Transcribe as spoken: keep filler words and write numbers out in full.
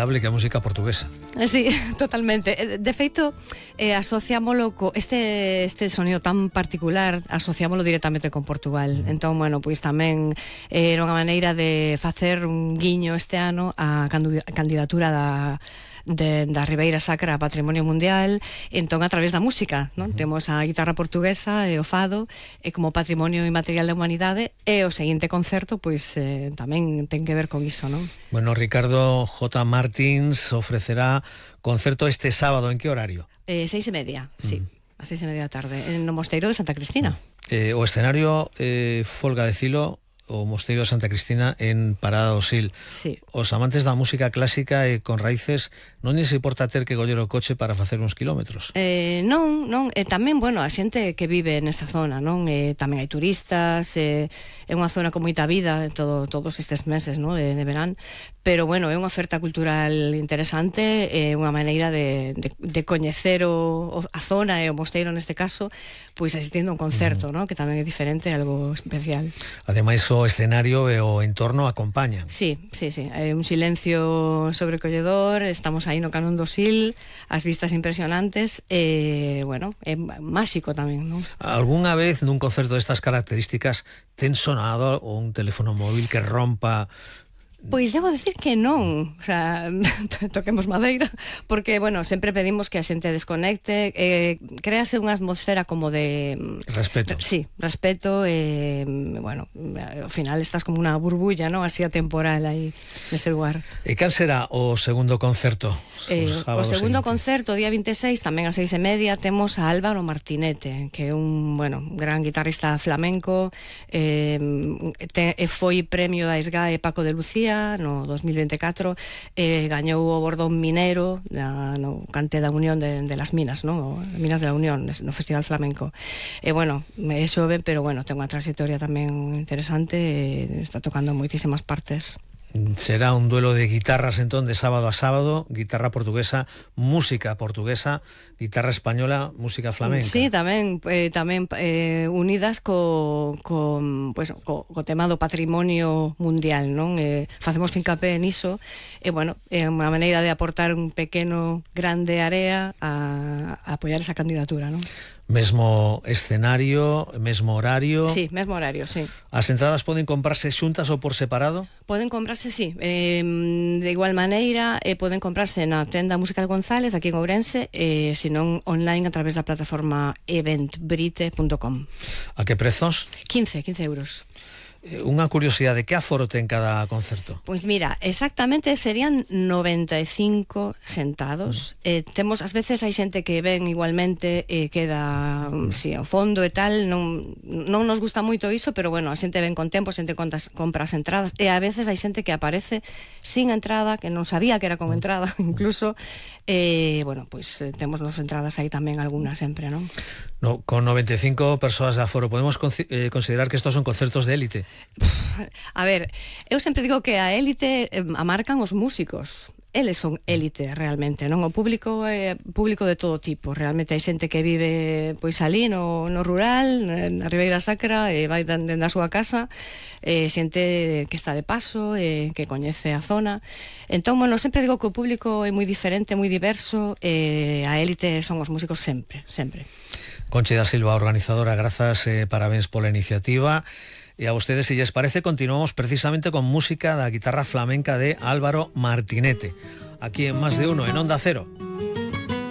inolvidable que a música portuguesa. Sí, totalmente. De feito, eh, asociámolo co este este sonido tan particular, asociámolo directamente con Portugal. Entón, bueno, pois tamén eh, era unha maneira de facer un guiño este ano á candidatura da De, da Ribeira Sacra a Patrimonio Mundial, entón a través da música, non? Uh-huh. Temos a guitarra portuguesa e o fado e como patrimonio inmaterial da humanidade, e o seguinte concerto pois eh, tamén ten que ver con iso, non? Bueno, Ricardo J. Martins ofrecerá concerto este sábado, en que horario? Eh, seis e media, uh-huh. sí, a seis e media da tarde, en o Mosteiro de Santa Cristina. Uh-huh. eh, o escenario eh, folga decilo o Mosteiro de Santa Cristina en Parada do Sil. Sí. Os amantes da música clásica e con raíces non lles importa ter que coller o coche para facer uns kilómetros. Eh, non, non, e tamén, bueno, a xente que vive nesa zona, non? Eh, tamén hai turistas, eh, é unha zona con moita vida todo, todos estes meses, non? De, de verán, pero bueno, é unha oferta cultural interesante, é unha maneira de, de, de coñecer o, o, a zona e o mosteiro neste caso, pois asistindo a un concerto, mm. non? Que tamén é diferente, algo especial. Ademais, o escenario e o entorno acompañan. Sí, sí, sí, hai un silencio sobrecolledor, estamos aí no Canón do Sil, as vistas impresionantes, e, bueno, é máxico tamén, non? Algúnha vez nun concerto destas características ten sonado un teléfono móvil que rompa? Pois debo decir que non, o sea, toquemos madeira, porque, bueno, sempre pedimos que a xente desconecte, eh, créase unha atmosfera como de... Respeto. Sí, respeto, e, eh, bueno, ao final estás como unha burbulla, non? Así atemporal aí nese lugar. E cal será o segundo concerto? Eh, o segundo seguinte. concerto, día vinte e seis, tamén a seis e media, temos a Álvaro Martinete, que é un, bueno, gran guitarrista flamenco, eh, te, foi premio da SGAE Paco de Lucía no dos mil vinte e catro, eh, gañou o Bordón Minero na, no Cante da Unión de, de las Minas, no? Minas de la Unión, no Festival Flamenco. E eh, bueno, é xove, pero bueno, ten unha trayectoria tamén interesante, e está tocando en moitísimas partes. Será un duelo de guitarras entón de sábado a sábado, guitarra portuguesa, música portuguesa, guitarra española, música flamenca. Sí, tamén eh, tamén eh, unidas co, co, pues, co, co tema do patrimonio mundial, non? Eh, facemos fincapé niso, e bueno, é unha maneira de aportar un pequeno grande área a, a apoiar esa candidatura, non? Mesmo escenario, mesmo horario. Sí, mesmo horario, sí. As entradas poden comprarse xuntas ou por separado? Poden comprarse, sí, eh, de igual maneira, eh, poden comprarse na tenda Musical González aquí en Ourense, e eh, senón online a través da plataforma eventbrite punto com. A que prezos? quince euros. Unha curiosidade, que aforo ten cada concerto? Pois mira, exactamente serían noventa e cinco sentados. Mm. Eh, temos, ás veces hai xente que ven igualmente e eh, queda mm. si, ao fondo e tal, non, non nos gusta moito iso, pero bueno, a xente ven con tempo, a xente contas, compra as entradas, e a veces hai xente que aparece sin entrada, que non sabía que era con entrada, incluso, e eh, bueno, pois eh, temos nos entradas aí tamén algunhas sempre, non? No, con noventa e cinco persoas de aforo, podemos eh, considerar que estos son concertos de élite? A ver, eu sempre digo que a élite eh, a marcan os músicos. Eles son élite realmente, non? O público é público de todo tipo. Realmente hai xente que vive pois ali no, no rural, na Ribeira Sacra, e vai dende a súa casa, e xente que está de paso, e que coñece a zona. Entón, bueno, sempre digo que o público é moi diferente, moi diverso, e a élite son os músicos sempre, sempre. Conchi da Silva, organizadora, grazas, eh, parabéns pola iniciativa. E a vostedes, se lles parece, continuamos precisamente con música da guitarra flamenca de Álvaro Martinete, aquí en Más de Uno, en Onda Cero.